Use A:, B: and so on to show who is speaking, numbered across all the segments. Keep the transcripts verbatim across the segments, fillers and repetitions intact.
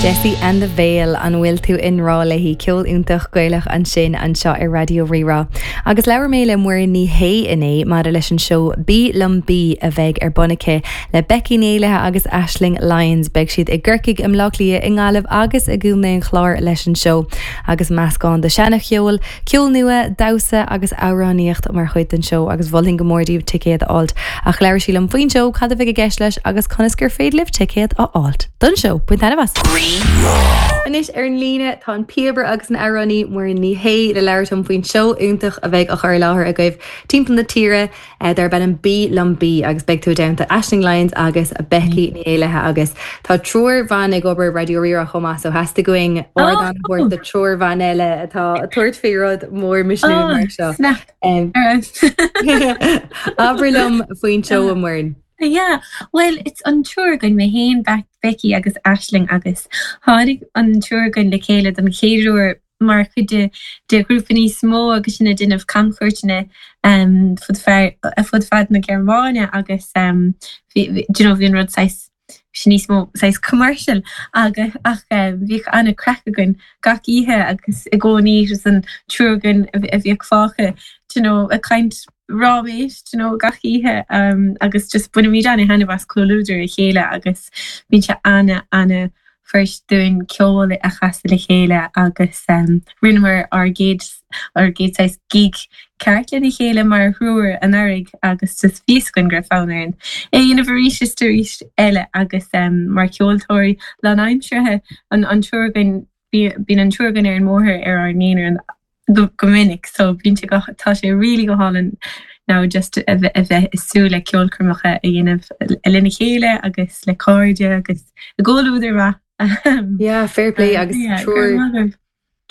A: Jessie and the Veil an bhfuil tú i ngrá léi ceol iontach Gaelach ansin anseo ar Raidió Rí-Rá. Agus labhair mé le Muireann Ní Shé inné maidir leis an seó Bí Liom Bí a bheidh ar bun aici le Becky Ní Éallaithe agus Aisling Lyons beidh siad i gCorcaigh i mBleá Cliath i nGaillimh agus i gContae an Chláir leis an seó agus meascán de seancheol, ceol nua, damhsa agus amhránaíocht mar chuid den seó agus mholfainn go mór daoibh ticéad a fháilt ach labhair sí liom faoin seó cad a bheidh i gceist leis agus conas gur féidir libh ticéad a fháilt don seó Bain taitneamh as. Anois ar an líne tá an píobaire agus an amhránaí Muireann Ní Shé le labhairt liom faoin seó iontach a bheidh á chur i láthair agaibh timpeall na tíre eh, darb ainm Bí Liom Bí agus beidh tú i dteannta Aisling Lyons agus Becky Ní Éallaithe agus tá triúr ban ag obair Raidió Rí-Rá chomh maith so theastaigh uainn ardán a thabhairt do triúr ban eile atá ag tabhairt faoi rud mór misniúil mar seo.
B: Snap.
A: Um, Abair liom faoin seó a Mhuireann.
B: Yeah, well it's an triúr againn mé féin Becky agus Aisling agus tháinig an triúr againn le chéile don chéad uair mar chuid de de ghrúpa níos mó agus sin ag déanamh camchuairteanna um, fud fud fad na Gearmáine agus um, bhí you know, bhí an rud saghas sin níos mó saghas commercial agus ach um, bhíodh an-chraic againn gach oíche agus i gcónaí an triúr againn a bhíodh fágtha you know, ag caint ráiméis you know, gach oíche um, agus just bainimid an-taitneamh as comhluadar a chéile agus bíonn sé an- an-fhuirist dúinn ceol a chasadh le chéile agus um, rinneamar ár gcéad ár gcéad saghas gig ceart lena chéile mar thriúr anuraidh agus just bhí againn go raibh fonn orainn. É dhéanamh arís is arís eile agus um, mar ceoltóirí lánaimseartha an an triúr againn bíonn an triúr againn ar an mbóthar ar ár n-aonar go go minic so bíonn sé go tá sé really go hálainn now just a bheith a bheith ag súil le ceolchoirmeacha a dhéanamh lena chéile agus le cairde agus i gcomhluadar maith.
A: Yeah, fair play agus triúr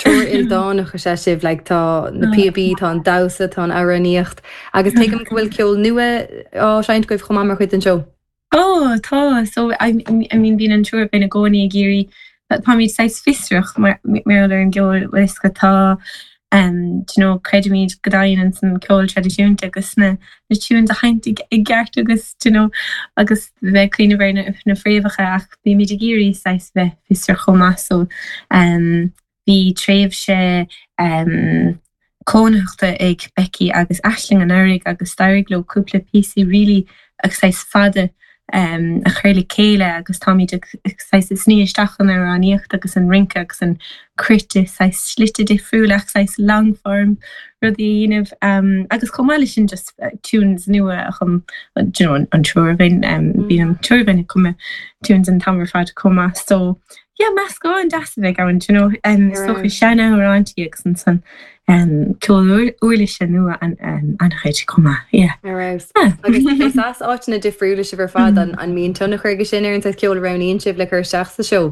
A: triúr ildánach is ea sibh like tá na píobaí, tá an damhsa, tá an amhránaíocht agus tuigim go bhfuil ceol nua á seinnt agaibh chomh maith mar chuid den seó.
B: Oh tá so I, I mean bíonn an triúr againn i gcónaí ag iarraidh táimid saghas fiosrach mar mar ar an gceol is go tá um, you know, creidimid go dtaitníonn an ceol traidisiúnta agus na na tunes a sheinnt i gceart agus you know, agus bheith cuimhneamh ar na, na fréamhacha ach bímid ag iarraidh saghas bheith fiosrach chomh maith so um, bhí tréimhse um, cónaitheachta ag Becky agus Aisling anuraidh agus d'éirigh leo cúpla píosaí really agus saghas fada um, a chur le chéile agus táimid ag saghas ag sní isteach an amhránaíocht agus an rince agus an cruite saghas slite difriúla ach saghas long form rudaí a dhéanamh um, agus chomh maith leis sin just uh, tunes nua a chum you know, an, an triúr againn um, bíonn an triúr againn ag cumadh tunes an t-am ar fad chomh maith so yeah meascán deas a bheidh ann you know um, so seanamhráintí agus ansan um, ceol uirlise nua an um, an-chuid chomh maith yeah.
A: Ar fheabhas. Agus is as áiteanna difriúla sibh ar fad an an mbíonn tionchar aige sin ar an saghas ceol a roghnaíonn sibh le cur isteach sa seó.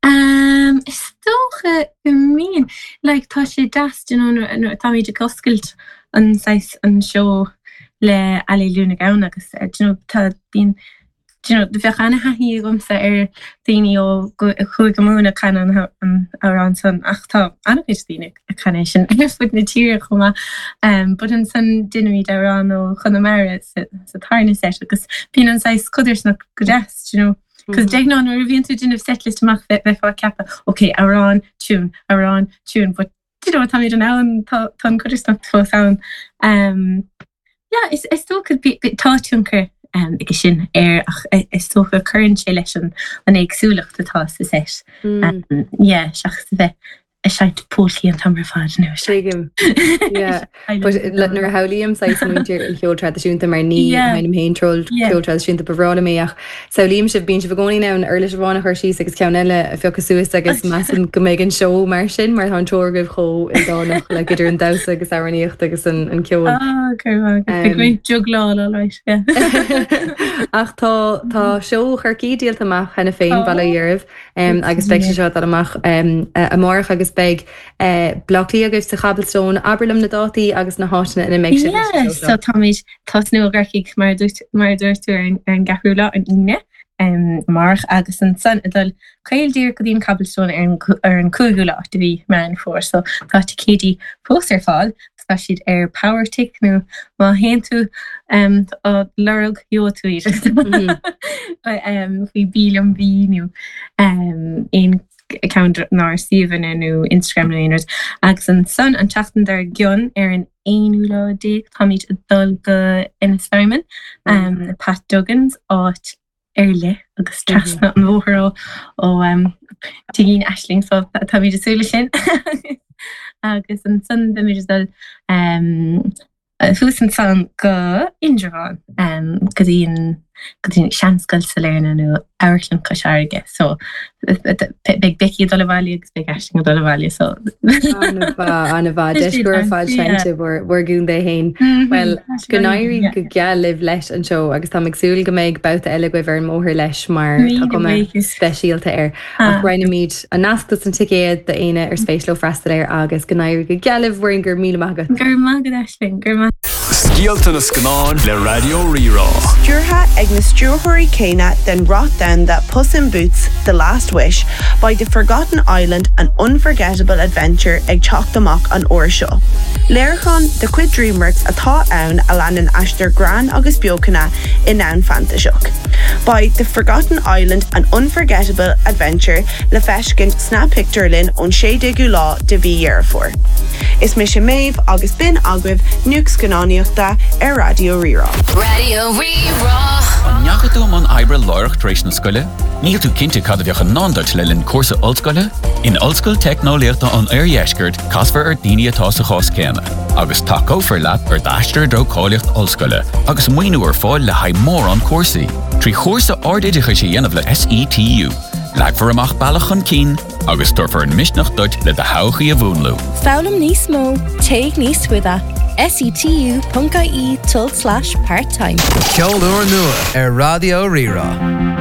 B: Um, is dócha go mbíonn like tá sé deas you know, nuair nuair táimid ag oscailt an saghas an seó le Alleluia na gCamán agus uh, you know, tá bíonn you know, bheadh an-taithí agamsa ar daoine ó Chúige Mumhan ag canadh an an amhrán san ach tá an-chuid daoine ag canadh sin ar fud na tíre chomh maith. Um, but ansan déanaimid amhrán ó Chonamara sa, sa tarna set agus bíonn an saghas codarsnacht go deas, you know. Cos de ghnáth nuair a bhíonn tú déanamh setlist amach bheith bheifeá ag ceapadh, ok, amhrán, tune, amhrán, tune, but you know, táimid in ann tá tá an codarsnacht fós ann. Um, yeah, is is dócha bí- bí- tá tionchar um, aige sin air ach i- is dócha cuireann sé leis an an éagsúlacht atá sa set.
A: Mm.
B: Um, yeah, seachas a bheith ag seinnt polcaí an t-am ar fad nó
A: Tuigim. Yeah. But le- nuair a shamhlaím saghas muintir an cheoil traidisiúnta mar ní
B: Yeah.
A: sheinnim féin ceol
B: Yeah.
A: ceol traidisiúnta ba bhreá liom é ach samhlaím sibh bíonn sibh i gcónaí in ann uirlis amháin a chur síos agus ceann eile a phiocadh suas agus measaim go mbeidh an seó mar sin mar tá an triúr agaibh chomh ildánach le idir an damhsa agus amhránaíocht agus an, an ceol.
B: Ah,
A: Um,
B: great juggláil all right, yeah.
A: Ach tá tá seó Chorcaí díolta amach cheana féin bail ó Dhia oraibh um, agus beidh sé seo dul amach um, amárach agus beidh uh, Bleá Cliath agaibh sa Cobblestone abair liom na dátaí agus na háiteanna ina mbeidh sibh leis an
B: Yeah,
A: seó
B: so
A: seo.
B: táimid tosnú i gCorcaigh mar a dúirt mar a dúirt tú ar an ar an gceathrú lá an Aoine um, amárach agus ansan ag dul caol díreach go dtí an Cobblestone ar an ar an cúigiú lá de mhí Meán Fómhair, so tá ticéidí fós ar fáil. Tá siad ar Powertic nó má théann tú um, á lorg gheobhaidh tú iad um, faoi Bí Liom Bí nó um, aon ceann dár suíomhanna nó Instagram nó aon rud. Agus ansan an tseachtain dár gcionn ar an aonú lá déag táimid ag dul go Ennistymon um, Pat Duggan's áit ar leith agus trasna an bhóthair ó ó um, tigín Aisling so táimid ag súil leis sin agus ansan beimid ag dul um, thuas ansan go Indreabhán um, go dtí an go dtí Seanscoil Sailearna nó Amharclann Chois Fharraige so beidh Becky ag dul abhaile agus beidh Aisling ag dul abhaile so
A: An-mhaith deis go fad seinnte bhur gcontae féin. Well go n-éirí go geal libh leis an seó agus tá ag súil go mbeidh babhta eile agaibh ar an mbóthar leis mar tá cuma speisialta air. Ach roinnfimid an nasc dos na ticéid d'aoinne ar spéis leo freastal air agus go n-éirí go geal libh Muireann go raibh míle maith agat.
B: Gur maith go Aisling gur maith.
C: Scéalta na scannán le Raidió Rí-Rá.
D: Stiúrtha ag na stiúrthóirí céanna den rath domhanda Puss in Boots, The Last Wish, beidh The Forgotten Island an unforgettable adventure ag teacht amach an uair seo. Léiriúchán de chuid DreamWorks atá ann a leanann aistear greann agus beochana i ndomhan fantaiseach. Beidh The Forgotten Island an unforgettable adventure le feiscint sna pictiúrlanna ón sé déagú lá de mhí Dheireadh Fómhair. Is mise Méabh agus b'in agaibh nuacht scannánaíochta ar Raidió Rí-Rá.
E: Raidió Rí-Rá.
F: An ndeachaigh tú i mbun oibre láithreach tar éis na scoile? Níl tú cinnte cad a bheadh i ndán duit le linn cúrsa ollscoile? In Ollscoil Teicneolaíochta an Oirdheiscirt casfar ar daoine atá sa chás céanna, agus tacófar leat ar d'aistear i dtreo cáilíocht ollscoile, agus maoiniú ar fáil le haghaidh mórán cúrsaí. Trí chúrsa ardoideachais a dhéanamh le SETU. Leagfar amach bealach chun cinn agus tabharfar an misneach duit le do thodhchaí a mhúnlú.
G: Foghlaim níos mó, téigh níos faide. setu.ie tilde slash part-time.
H: Ceol úr nua ar Raidió Rí-Rá.